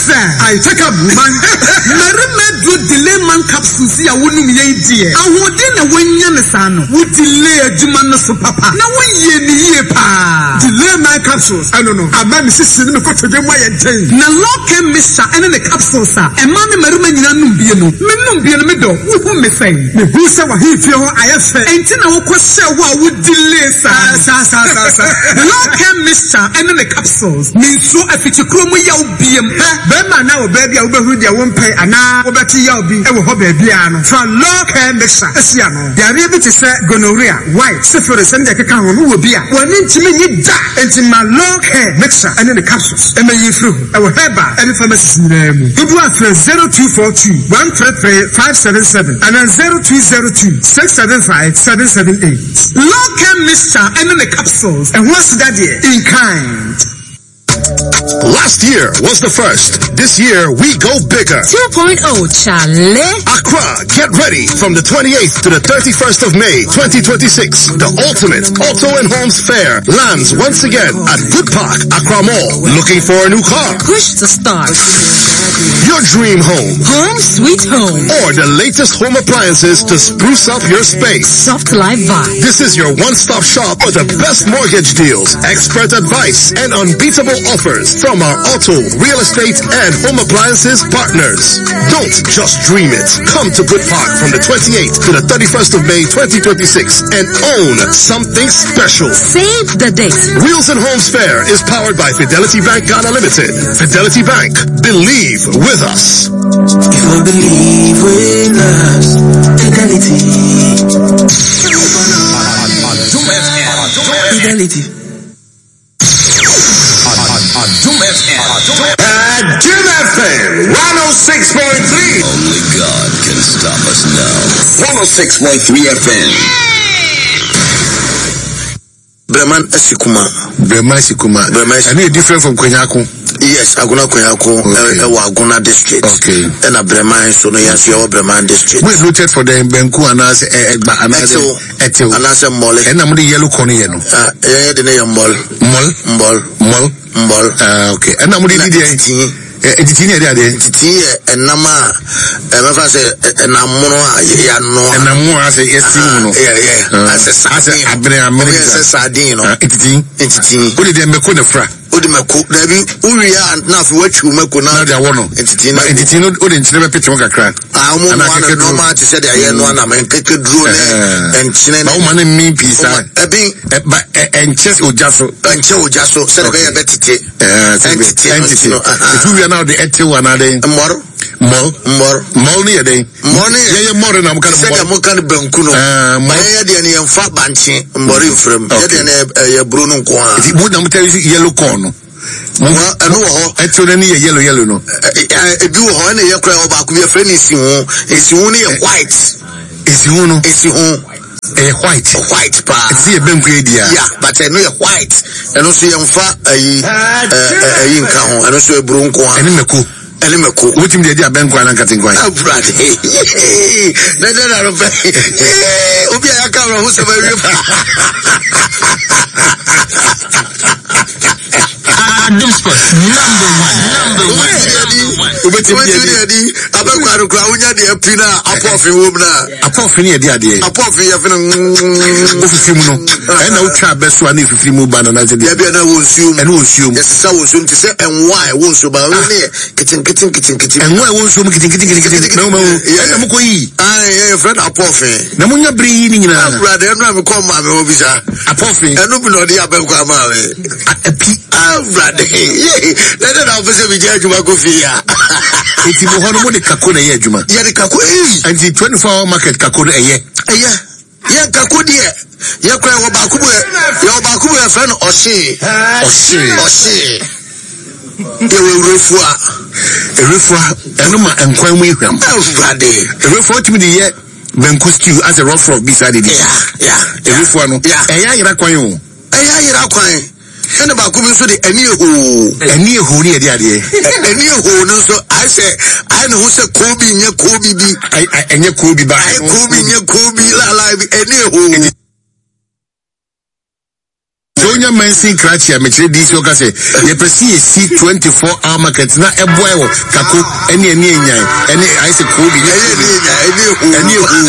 sir. I take up woman. Mmarima aduro delay man capsules yi a wonom yɛ yi deɛ, ahoɔden na woanya no saa no, wo delay adwuma no so papa na woyie no yie paa. Delay man capsules, ɛno no, ama me sisi ne me kotodwe mu ayɛ den. Na Lorcan mixture ɛne ne capsules a ɛmaa ne mmarima nyinaa nom bie no, me nom bie no me dɔ, wohu me sɛn? Mehu sɛ w'ahemfie hɔ ayɛ fɛ. Enti na wokɔ hyɛɛ hɔ a wo delay saa no. Saa saa saa saa. Lorcan mixture ɛne ne capsules, me nsuo afikyikuro mu yaw biem. Hwɛ, barima anaa ɔbaa bi a wobɛhunu deɛ wompɛ anaa wobɛte yaw bi wɔ hɔ baabiara no, fa Lorcan mixture si ano. Yareɛ bi te sɛ gonorrhea, white, syphilis ne deɛ ɛkeka ho no wɔ bi a, w'ani ntumi nnye da. Enti ma Lorcan mixture ne ne capsules mmɛyi mfiri ho. Ɛwɔ herbal ne pharmacies nyinaa mu. Dodoɔ a frɛ 0242 133 577 anaa 0202 675 778. Lorcan mixture ne ne capsules, ɛho aseda deɛ, in kind. Last year was the first. This year we go bigger. 2.0 Chale. Accra, get ready from the 28th to the 31st of May, 2026. The ultimate auto and homes fair lands once again at Good Park, Accra Mall. Looking for a new car? Push to start. Your dream home. Home sweet home. Or the latest home appliances to spruce up your space. Soft life vibe. This is your one-stop shop for the best mortgage deals, expert advice, and unbeatable offers from our auto, real estate, and home appliances partners. Don't just dream it. Come to Good Park from the 28th to the 31st of May 2026 and own something special. Save the date. Wheels and Homes Fair is powered by Fidelity Bank Ghana Limited. Fidelity Bank, believe with us. If you believe with us, Fidelity. Fidelity. Adum FM. Adum FM 106.3. Only God can stop us now. 106.3 FM. Breman Asikuma. Breman Asikuma. Breman Asikuma. Ɛno yɛ different from Kwanyako. Yes, Agona Kwanyako ɛwɔ Agona district. Okay. Ɛna Breman nso no yɛn nso yɛwɔ Breman district. Mo noted for the Benku anaasɛ Ɛgba anaasɛ Ɛtew. Ɛtew. Anaasɛ Mmɔle. Ɛna mo de yellow corn yɛ no. Ah, yɛn yɛ de ne yɛ Mmɔl. Mmɔl. Mmɔl. Mmɔl. Mmɔl. Ah, okay. Ɛna mo de di deɛ. Titi. Etiti ne yɛ de adeɛ. Titi yɛ ɛnam a ɛmɛfa sɛ ɛnam mono a yɛanoa. Ɛnam mono a sɛ yɛsi mu no. Yɛ yɛ asɛ sardine. Asɛ abene amene. Ɔmo yɛ sɛ sardine no. Etiti. Etiti. O de deɛ mɛko na fura. O de mɛko dabi o wie a na afei watwiw mɛko na. Na de awɔ no. Etiti na. Etiti no o de nkyene bɛ pete ho kakra. Ah ɔmo noa no nɔɔma te sɛ deɛ yɛ noa nam nkeke duro ne nkyene. Ba o ma ne mi pii saa. Ɛbi. Ba ɛnkyɛ ogya so. Ɛnkyɛ ogya so sɛdeɛ bɛyɛ bɛ tete. Ɛntete. Ɛntete. Etu wia na ɔde ɛtew anaa dɛn? Mmɔr. Mmɔr. Mmɔr. Mmɔr no yɛ dɛn? Mmɔr no yɛ. Yɛyɛ mmɔr na mo ka no mmɔr. Sɛdeɛ mo ka no banku no. Mmɔr. Yɛyɛ deɛ no yɛnfa bankye mmɔre nfra mu. Yɛ deɛ no ɛyɛ buro no nko ara. Eti mo na mo tɛ yellow corn no. Ɛno wɔ hɔ. Ɛtew no ni yɛ yellow yellow no. Ebi wɔ hɔ ɛna yɛ kora ɛwɔ baako bi yɛfrɛ no esiho. Esiho no yɛ white. Esiho no. Esiho. Ɛyɛ white. White paa. Ɛte sɛ yɛ banku yɛ di a. Yeah, but ɛno yɛ white. Ɛno nso yɛnfa ɛyi ɛyi nka ho. Ɛno nso eburo nko ara. Ɛne mako. Ɛne mako. Wotumi de adi abɛnkwan anaa nkatenkwan. Awurade. Na ɛdɛ na no pɛ. Obi a yɛaka awerɛho sɛm awie pa. Adum Sports number one, number one, number one. Wobɛtumi de adi. adi abɛnkwan no koraa wonya deɛ api no a apɔfe wom no a. Apɔfe no yɛ de adeɛ. Apɔfe yɛ fene. Wofifiri mu no ɛna wotwa abɛ so a na efifiri mu ba no na sɛ deɛ. Yɛbi ɛna wɔ nsuo mu. Ɛna wɔ nsuo mu. Yɛsesa wɔ nsuo mu te sɛ ɛnwa a ɛwɔ nsuo ba ɛno ne yɛ ketenkete nketenkete. Ɛnwa a ɛwɔ nsuo mu ketenkete nketenkete. Mɛwo mɛwo ɛna mo kɔ yi. Ayi yɛ yɛfrɛ no apɔfe. Na mo nya bere yi ne nyinaa. Awurade ɛno a mekɔ maame hɔ bisa. Apɔfe. Ɛno bi na ɔde abɛnkɔ ama me. Api. Awurade yee na ɛdɛ na wopɛ sɛ megya adwuma kɔ fie a. Eti mo hɔ no mo de kako na ɛyɛ adwuma. Yɛde kako ee. Nti 24 hour market kako no ɛyɛ. Ɛyɛ. Yɛ kako deɛ yɛ kora yɛwɔ baako bu yɛwɔ baako bu yɛfrɛ no ɔhyee. Ɔhyee. Ɔhyee. Yɛwɔ ewurefua. Ewurefua ɛno ma nkwan mu ehwam. Awurade. Ewurefua wotumi de yɛ banku stew asɛ rough rough bi saa de di. Ewurefua no ɛyɛ ayera kwan o. Ɛyɛ ayera kwan. Ɛna baako bi nso de ɛni ehoo. Ɛni ehoo ne yɛde adeɛ. Ɛni ehoo no nso ayɛ sɛ ayɛ ne ho sɛ koobi nyɛ koobi bi. Ɛnyɛ koobi ba. Ayɛ koobi nyɛ koobi lala bi ɛni ehoo. Wonya mansin krakye a mekyerɛ DC ɔka sɛ yɛpɛ sɛ yɛsi 24 hour market na ɛboa wɔ kako ɛne ɛne enyan ɛne ayɛ sɛ kuro bi ɛne ehu.